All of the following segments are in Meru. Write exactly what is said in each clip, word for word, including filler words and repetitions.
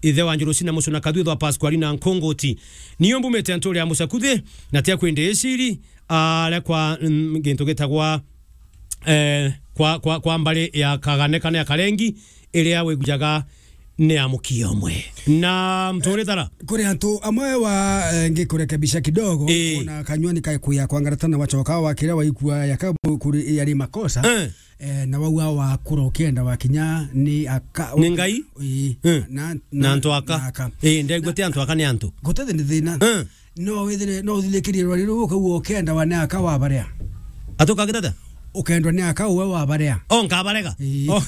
ithe wa Njurusi na Mucuna Kathwithwa Pasqualina Nkunguti. Niyo mbumite nturi ya Mucakuthi, na tia kwindi iciri, aria kwa, mm, gintu gitagwa, eh, kwa, kwa, kwa mbari ya Kagane kana ya Karengi, iria wigujaga ni ya mukia umwe. Na mturi tara. Kuri antu amwe wa, eh, ngikurekebisha kidogo, ii, ona kanywani kaikuya kwangaratana wachoka wakira waikua yaka kuri yari makosa. Eh. Eh, na wau wa wakura ukienda wakinya ni aka-, ni Ngai? Ii. Eh. Na, na, na antu aka. Na aka. Ii, ndegwete antu aka ni antu. Gutete ni thina. Eh. No withire, no uthirikirie rwari ruu ukauga ukienda wa ni aka wa baria. Atuka gitata? Ukendwa ni aka uwe wa baria. O, nkabarega? Ii. O.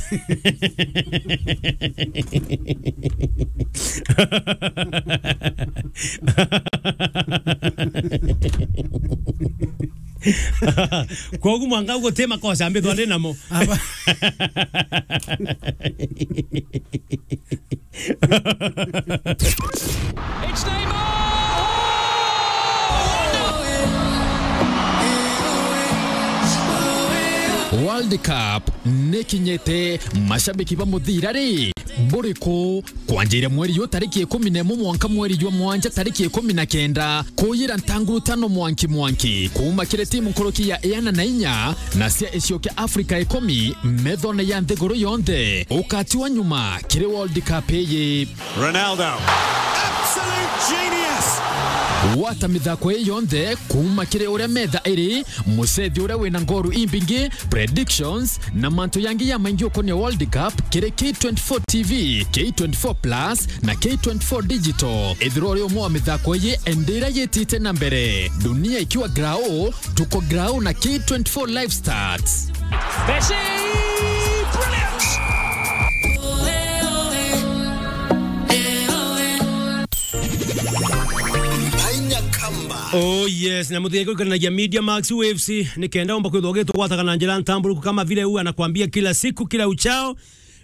Kwogu mwanka guti makosa mbithwa ndi namo. Aba. It's Neymar! World Cup nikinyite, mashabiki ba muthira ri, buriku? Kwanjira mweri yu tariki ikumi na imwe mwanka mweri jwa mwanja tariki ikumi na kenda, kuyira ntangurutano mwanki mwanki kuuma kiri timu nkuruki ya iana na inya na cia icio kia Afrika ikumi methone ya nthiguru yonthe. Ukatiwa nyuma kiri World Cup iyi. Ronaldo. Absolute genius. Gwata mithako ii yonthe kuuma kiri uria metha iri, mucethi uria wina ngoru imbingi, predictions, na mantu yangi ya maingi ukonia World Cup kiri K twenty-four T V, K twenty-four Plus, na K twenty-four Digital. Ethirwa uri umwe wa mithako iyi, endira yitite na mbere. Dunia ikiwa grau, tuko grau na K twenty-four Live Stats. Messi! Brilliant! Oh yes, na muthige kurikanagia Media Max Waves, ni kenda umba kwithwa ugitugwataga na njira ntamburuku kama vile huwa anakuambia kila siku, kila uchao.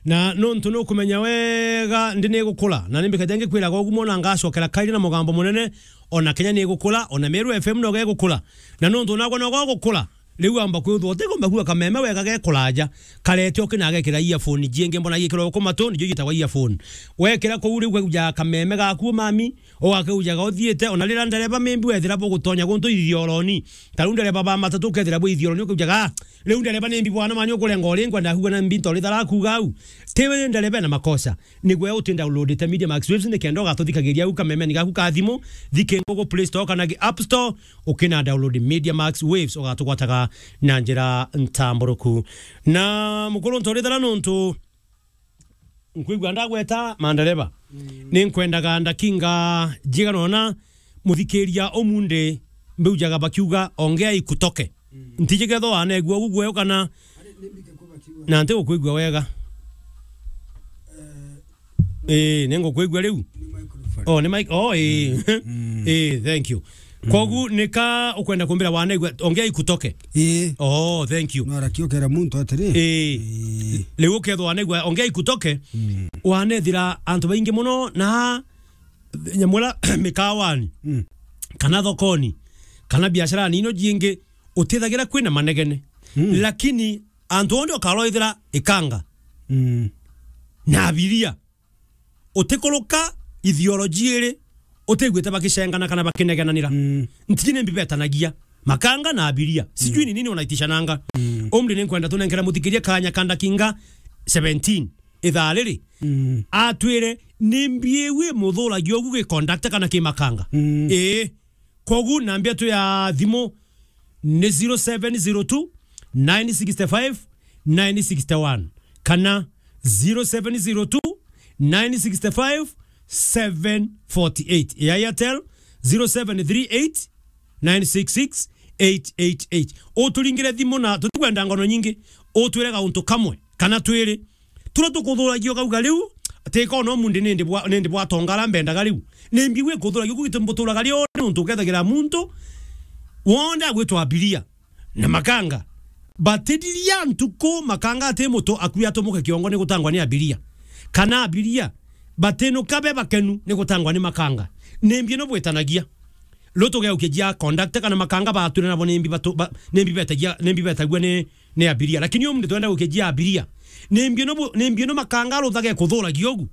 Na nontu nukumenya wega ndi nigukura, na nimbikaja ngikwiraga ugu mona ngacokera kairi na mugambo munene, ona Kenya nigukura, ona Meru F M noga igukura. Na nontu nagwa noga ugukura, riu amba kwithwa utigomba kuua kameme wega gekuraja, karete ukinagekira earphone jingi mbona gikirwa ku matu, nijo gitagwa earphone. Wekira kuu riu ukaigujaga kameme gaku mami, ugakaujaga uthiite, ona riria ndereba maybe wethira bugutonya guntu ithioroni. Ta riu ndereba ba matatu ukethira bwi ithioroni, ukaujaga, "Ah, riu ndereba nimbi bwana mani ukurenga uri nkwenda kuuga na mbi ntorithara kuuga au." Ti we ndereba ena makosa. Nigwe uti downloadite Media Max Waves nikenda ugatuthikagiria au kamemeni gaku ka thimu, thike Google Play Store kana gi App Store, ukina download Media Max Waves, ugatugwataga na njira ntamburuku. Na mukuru ntorithara nontu nkwigua ndagweta mandereba. Mm. Ninkwendaga ndakinga njigana ona muthikiria umunthi mbiujaga bakiuga, "Ongea ikutoke." Mm. Ntiji ketho wanegua ugu gweyo kana na nti gukwigua wega. Eh, ningukwigua riu. Oh, ni mic. Oh, eh. Mm. Eh, thank you. Mm. Kogu nika ukwenda kumbira wanaigua, ongea ikutoke. Ii. Oh, thank you. No arakiokera muntu atiri. Ii. Ii. Riu ukethwa wanaigua, ongea ikutoke. Mm. Wanethira antu baingi muno na nyamura mikawani. Mm. Kana thokoni. Kana biashara nino jingi utithagira kwina manegene. Mm. Lakini antu onthe ukaroithira ikanga. Mm. Na abiria. Utikuruka ideology iri, utiguite bakicengana kana bakinegenanira. Mm. Ntiji ni mbi betanagia. Makanga na abiria. Sijui ni nini wanaitishananga. Mm. Umri ni nkwenda tunenkera muthikiria kanya ka ndakinga seventeen. Ithaa riri. Mm. Atwire ni mbi iu imuthuragia ugu gi conductor kana ki makanga. Mm. Ii. Kogu nambia tu ya thimu ni zero seven zero two, nine six five, nine six one kana zero seven zero two, nine six five, seven forty eight. Ya Airtel, zero seven three eight, nine six six, eight eight eight. Uturingire thimu na tutikwenda ngono nyingi. Utwire gauntu kamwe kana twiri. Turia tukuthuragia ukauga riu, ati kono mundi nindi bwa, nindi bwa tongara mbendaga riu. Ni mbi gwi kuthuragia uku gitu mbuturaga rio ni untu ukethagira muntu wonde agwitwa abiria na makanga. Batiriria ntuku makanga ati mutu akui atumuke kiongo ni gutangwa ni abiria. Kana abiria batinuka be bakenu ni gutangwa ni makanga. Ni mbi no bwitanagia. Riu tugeukia jia conductor kana makanga batwire nabo ni mbi batu-, ba-, ni mbi betagia, ni mbi betagua ni, ni abiria. Lakini umunthi twenda gukia jia abiria. Ni mbi no bu-, ni mbi no makanga aruthage kuthuragia ugu.